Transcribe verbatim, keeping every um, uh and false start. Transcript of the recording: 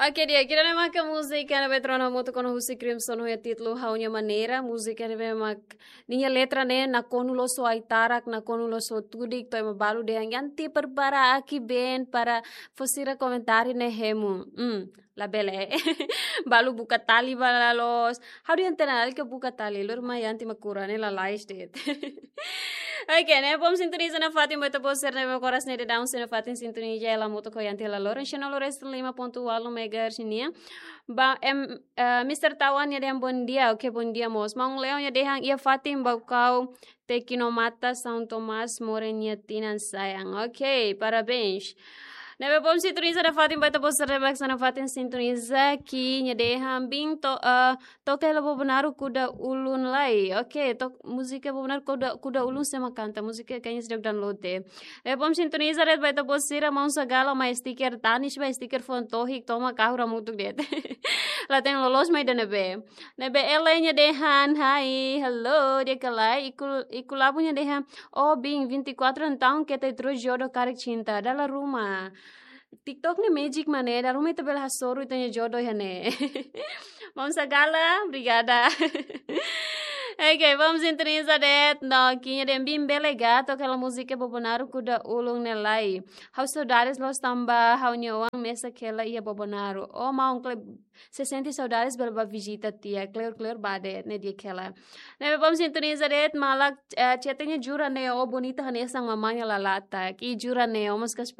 Oke, di'ak, ida-ne'e maka múzika ne'ebé Trona Moto kona husi Crimson ho títulu Ha'u-nia Maneira. Múzika ne'ebé mak ninia letra ne'e nakonu loos ho ai-tarak, nakonu loos ho tudik, to'o ema balu dehan Yanti prepara aki been para fó sira komentáriu ne'e hemu. Hmm, labele. Balu buka tali ba la loos. Ha'u dehan tiha ona lalika buka tali, lori mai Yanti mak kura ne'e lalais de'it. Oke, ne'ebé bom sintoniza nafatin ba ita-boot sira ne'ebé koras ne'e daudaun sei nafatin sintoniza hela Moto ho Yanti hela loron, sino lores lima ponto walu megahertz nian. Ba, em, eh, Mister Tawan nia dehan bom dia, oke, bom dia mós. Maun Leo nia dehan iha fatin Baucau, Tecnomata, São Tomás, Moren nia tinan sayang. Oke, parabéns. Ne'ebé bom sintoniza nafatin ba ita-boot sira ne'ebé mak nafatin sintoniza, Ki nia dehan bin to, eh, toka hela Bobonaro kuda ulun lai. Oke, tok múzika Bobonaro kuda, kuda ulun sé mak kanta, múzika kayaknya seidauk download de'it. Ne'ebé bom sintoniza de'it ba ita-boot sira, maun Sagala mai stiker tanis ba stiker foun tohik tomak ha'u hamutuk de'it. La tenke loloos mai ida-ne'ebé. Ne'ebé Ellen nia dehan, hai, hello, di'ak ka lae, Iku, Iku Labu nia dehan, oh, bin, vinte e quatro entaun keta iha tro'os jodoh karik cinta, dala ruma. TikTok ne'e magic mak ne'e, dala ruma ita bele hasoru ita-nia jodoh iha ne'e. Maun Sagala, obrigada. Oke, bom sintoniza de'it, no, Ki nia dehan bin bele ga toka hela múzika Bobonaro kuda ulun ne'e lai. Ha'u saudades loos tanba ha'u-nia oan mesak hela iha Bobonaro. Oh, maun, kleur, se sente saudades bele bá vizita tiha, kleur, kleur bá de'it, ne'e di'ak hela. Ne'ebé bom sintoniza de'it, maluk, eh, chatnya jura ne'e, oh, bonita hanesan mamá nia lalata. Ki jura ne'e, oh, mas kas